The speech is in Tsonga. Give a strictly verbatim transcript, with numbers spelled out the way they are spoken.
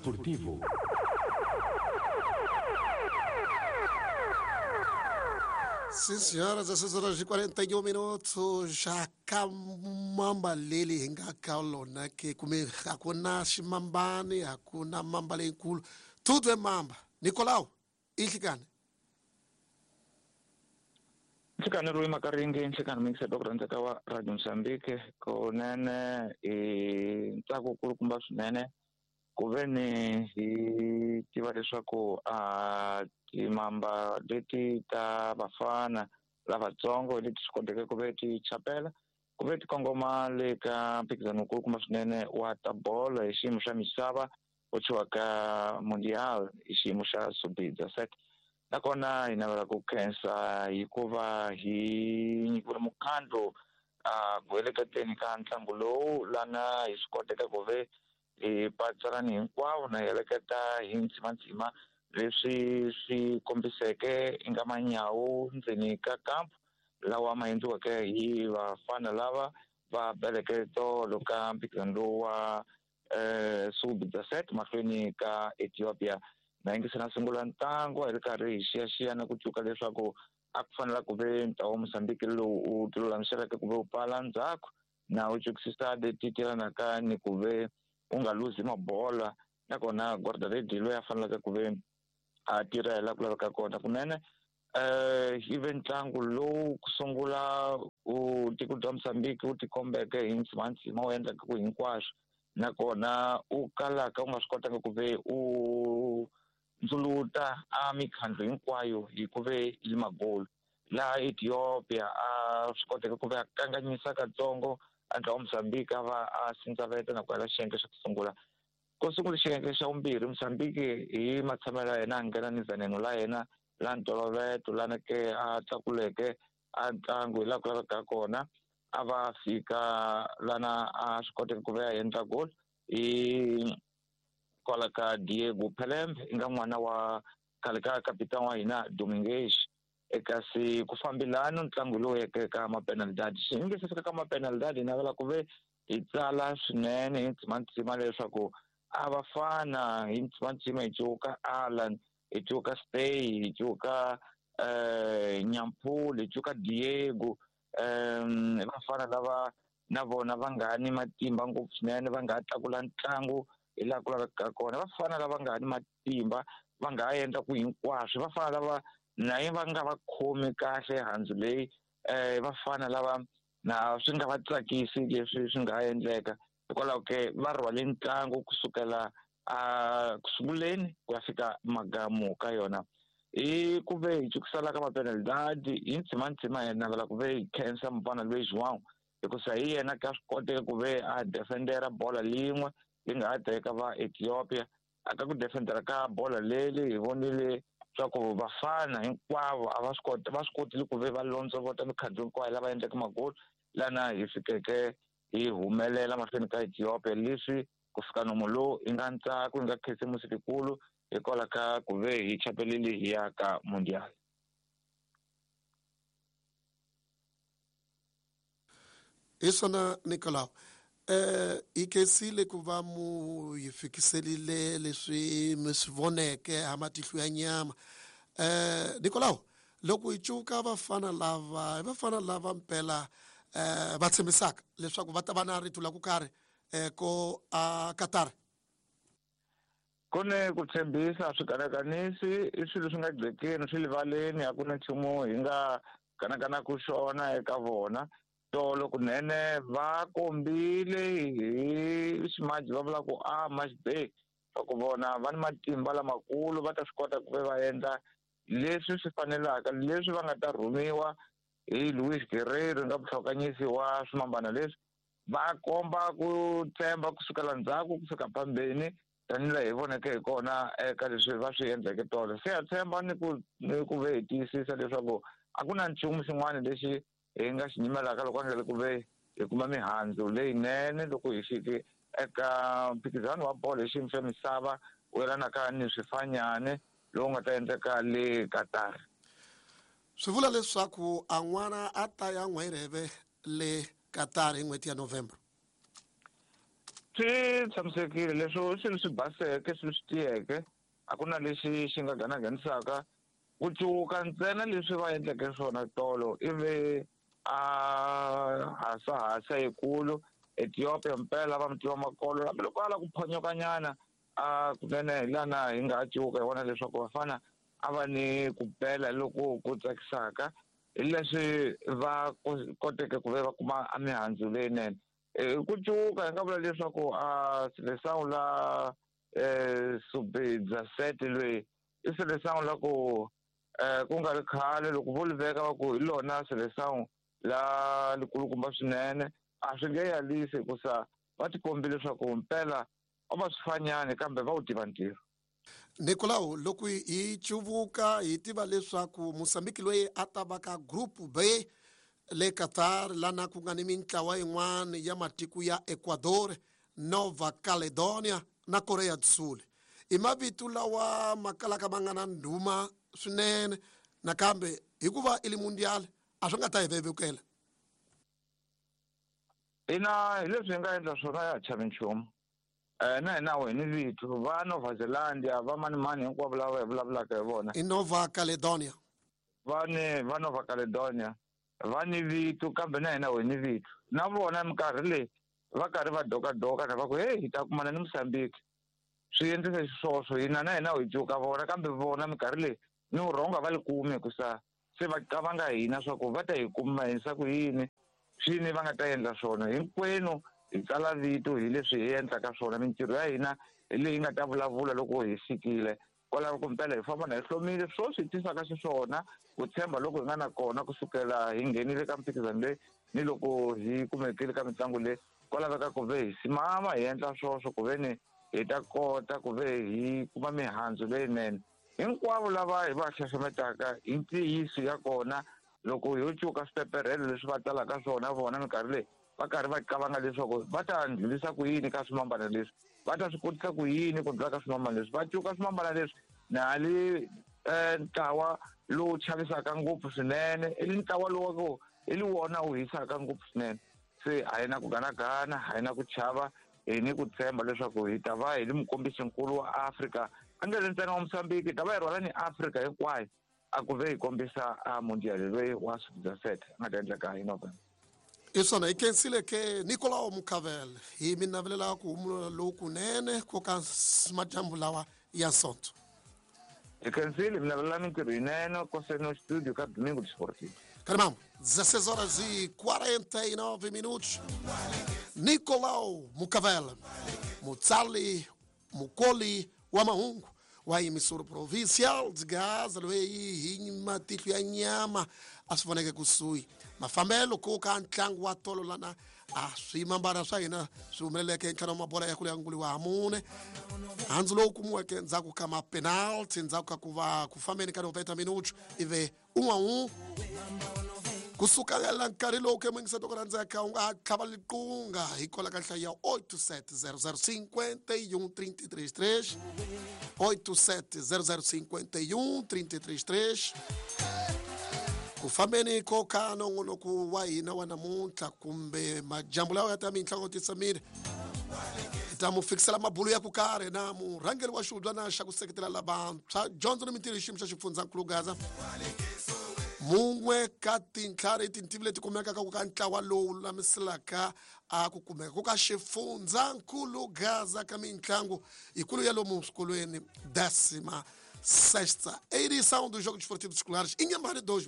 Esportivo. Sim, senhora, dezesseis horas e quarenta e um minutos. Já kamamba leli hinga kaulona que comer hakuna ximambane, hakuna mamba lenkulu. Tudo é mamba. Nicolau, inhlikani. Nhlekani Rui Makaringi, nhlekani mingiselo ku rhandzeka wa Radio Mozambique, kunene i ntsako kulukumba swinene ku ve ni hi tiva leswaku a timamba leti ta vafana lavatsongo leti swi koteke ku ve ti chapela ku ve ti kongoma le ka mphikizano wukulukumba swinene wa ta bolo hi xiyimo xa misava wu thyiwaka Mundial hi xiyimo xa sub dezesete. Nakona hi navela ku khensa hikuva hi nyikiwile mukhandlu a ku heleketeni ka ntlangu lowu lana hi swi koteke ku ve hi patsalani hinkwavo na hi heleketa hi ntsimantsima leswi swi kombiseke i nga manyawu ndzeni ka kampu lawa ma endliweke hi vafana lava va beleke tolo ka mphikizano lowu wa um sub dezesete mahlweni ka Ethiopia. Na yingisela na sungula ntlangu a hi ri karhi hi xiyaxiya na ku tshuka leswaku a ku fanela ku ve ntlawa wa Mozambique lowu u tilulamiseleke ku ve u pfala ndzhaku na u tsukisisa leti tirhanaka ni ku ve u nga luzi mabola, nakona guardaredi loyi a faneleke ku ve a tirha hi laha ku laveka kona kunene. Um hi ve ntlangu lowu ku sungula u tiko bya Mozambique wu tikombeke hi ntsimantsima wu endlaka ku hinkwaswo, nakona u kalaka u nga swi kotanga ku ve u ndzuluta a mikhandlu hinkwayo hi ku ve yi magolu. Laha Ethiopia a swi koteke ku ve a kanganyisa katsongo a ntlawa wa Mozambique a va a sindzaveta na ku hela xiyenge xa ku sungula. Ku sungula xiyenge xa vumbirhi Mozambique hi matshamelo ya yena a nghena ni veneno la yena la ntolovelo lana ke a tlakuleke a ntlangu hi laha ku lavekaka kona, a va fika lana a swi koteke ku ve a endla goal hi kwala ka Diego Pelembe i nga n'wana wa khale ka kapitani wa hina Dominguez. Kasi ku fambelana ntlangu lowu yeke ka mapenalidadi, xi nge se fika ka mapenalidadi hi navela ku ve hi tsala swinene hi ntsimantsima leswaku a va fana hi ntsimantsima hi cuka Alan, hi cuka Stay, hi cuka um Nyampulu, hi cuka Diego, um vafana lava na vona va nga ni matimba ngopfu swinene, va nga tlakula ntlangu hi laha ku lavekaka kona, vafana lava nga ni matimba va nga endla ku hinkwaswo, vafana lava naye va nga va khomi kahle handzu leyi, um vafana lava na swi nga va tsakisi leswi swi nga endleka hikwalaho ke va rhwale ntlangu kusukela a kusunguleni ku ya fika magamu ka yona. Hi ku ve hi tsukisela ka mapenalidadi hi ntsimantsima hi navela ku ve hi khensa mufana loyi João hikusa hi yena ka swi koteka ku ve a defendera bola lin'we yi nga ha teka va Ethiopia. A ka ku defendera ka bola leli hi vonile swa ku vafana hinkwavo a va swi kota va swi kotile ku ve va londzovota mikhandlu hinkwayo lava endleke magoli lana hi fikeke hi humelela mahlweni ka Ethiopia. Leswi ku fika nomo lowu i nga ntsako i nga khisimusi likulu hikwalaho ka ku ve hi chapelile hi ya ka Mundial. Hi swona Nicolau, eh hi khensile ku va mu hi fikiselile leswi mi swi voneke ha matihlo ya nyama. Eh Nicolau, loko hi cuka vafana lava, vafana lava mpela eh va tshembisaka leswaku va ta va na rito la ku karhi eh ko a Qatar. Ku ni ku tshembisa swi kanakanisi i swilo swi nga gcekeni swi rivaleni, a ku na nchumu hi nga kanakanaku xona eka vona. Tolo kunene va kombile hi ximaji va vula ku a must be swa ku vona va ni matimba lamakulu va ta swi kota ku ve va endla leswi swi fanelaka leswi va nga ta rhumiwa hi Luis Guerreiro nga vuhlokanyisi wa swimambana leswi. Va komba ku tshemba kusukela ndzhaku ku fika phambeni tanihi hi voneke hi kona eka leswi va swi endleke tolo. Se ha tshemba ni ku ni ku ve hi tiyisisa leswaku a ku na nchumu xin'wana lexi hi nga xi nyimelaka loko a nga le ku ve hi kuma mihandzu leyinene loko hi fike eka mphikizano wa bolo hi xiyimo xa misava wu yelanaka ni swifanyane lowu nga ta endleka le Qatar. Swi vula leswaku a n'wana a ta ya n'wirheve le Qatar hi n'hweti ya November. Swi tshamisekile leswo swilo swi baseke, swilo swi tiyeke, a ku na lexi xi nga ganaganisaka. Ku cuka ntsena leswi va endleke swona tolo ivi a hasahasa yikulu Ethiopia mpela va mutiva makolo, hambi loko a lava ku phonyokanyana a kunene hi lana hi nga cuka hi vona leswaku vafana a va ni ku bela loko ku tsakisaka hi leswi va koteke ku ve va kuma a mihandzu leyinene. Ku cuka hi nga vula leswaku a Seleção la sub dezessete loyi i Seleção la ku ku nga ri khale loko vo li veka va ku hi lona Seleção la likulukumba swinene, a swi nge yalisi hikusa va tikombile leswaku mpela a va swifanyani kambe va wu tiva ntirho. Nicolau, loko hi cuvuka hi tiva leswaku Mozambique loyi a ta va ka group B le Qatar lana ku nga ni mintlawa yin'wana ya matiko ya Ecuador, Nova Caledonia na Korea do Sul. I mavito lawa ma kalaka ma nga na ndhuma swinene, nakambe hikuva i le mundial a swi nga ta hi vevukela. Ina, hi leswi hi nga endla swona ya ha chavi nchumu. Eh na hina hi ni vito va Nova Zealandia, va mani mani hinkwavo lava hi vulavulaka hi vona. I Nova Caledonia. Va ni va Nova Caledonia va ni vito, kambe na hina hi ni vito. Na vona minkarhi leyi va karhi va dokadoka na va ku hey hi ta kumana ni Mozambique. Swi endlisa xiswoswo hina na hina hi cuka vona, kambe vona minkarhi leyi ni vurhonga va li kumi hikusa se va qavanga hina swa ku va ta hi kuma hisa ku yini, swini va nga ta endla swona. Hinkwenu hi tsala vito hi leswi hi endlaka swona, mintirho ya hina hi leyi nga ta vulavula loko hi fikile kwalaho ku mpela hi famba na hi hlomile. Swo swi tisaka xiswona ku tshemba loko hi nga na kona kusukela hi nghenile ka mphikizano leyi ni loko hi kumekile ka mitlangu leyi, ko laveka ku ve hi simama hi endla swoswo ku ve ni hi ta kota ku ve hi kuma mihandzu leyinene. Hinkwavo lava hi va xaxametaka hi ntiyiso ya kona, loko ho cuka swipeperhelo leswi va talaka swona vona minkarhi leyi va karhi va qavanga leswaku va ta ndlulisa ku yini ka swimambana leswi, va ta swi kotisa ku yini ku ndlula ka swimambana leswi, va cuka swimambana leswi na hali ntlawa lowu chavisaka ngopfu swinene, i ntlawa lowu wa ku i li wona wu hisaka ngopfu swinene. Se a hi na ku ganagana, a hi na ku chava, hi ni ku tshemba leswaku hi ta va hi li mukombisinkulu wa Afrika, a nge ri ntsena wa Mozambique, hi ta va hi rhwala ni Afrika hinkwayo a ku ve hi kombisa a mundial loyi wa sub dezessete a nga ta endleka hi November. I swona, hi khensile ke Nicolau Mucavel, hi mi navelela ku humula lokunene ko ka madyambu lawa ya Sonto. Hi khensile, mi navelela mintirho yinene koseno studio ka Domingo Desportivo. Caramba, dezesseis horas e quarenta e nove minutos. Nicolau Mucavel, mutsali mukoli wa mahungu wa emissora provincial de Gaza, loyi hi matihlo ya nyama a swi voneke kusuhi mafambelo ko ka ntlangu wa tolo lana a swimambana swa hina swi humeleleke ntlhanu wa mabola ya kule ya nguli wa mune, handzu lowu kumiweke ndzhaku ka mapenalty, ndzhaku ka ku va ku fambeni ka noventa minutos ive un'we un'we. Kusuka la nkarhi lowu ke muyingiseti ku rhandzeka u nga ha tlhava liqunga hi kola ka nhlayo ya oito sete zero zero cinquenta e um trinta e três três, oito sete zero zero cinquenta e um trinta e três três. Ku fambeni ko ka nongonoko wa hina wa namuntlha kumbe majambu lawa ya ta mintlhango titsamile, hi ta mu fikisela mabulu ya ku karhi na murhangeri wa xihubyana xa ku seketela lavantshwa, dyondzo ni mintirho hi xiyimo xa xifundzankulu Gaza, mun'we ka tintlhari tintivi leti kumekaka ku ka ntlawa lowu lulamiselaka a ku kumeka ku ka xifundzankulu Gaza ka mitlangu yikulu ya lomu swikolweni, décima sexta edição dos Jogos Esportivos Escolares Inhambane dois.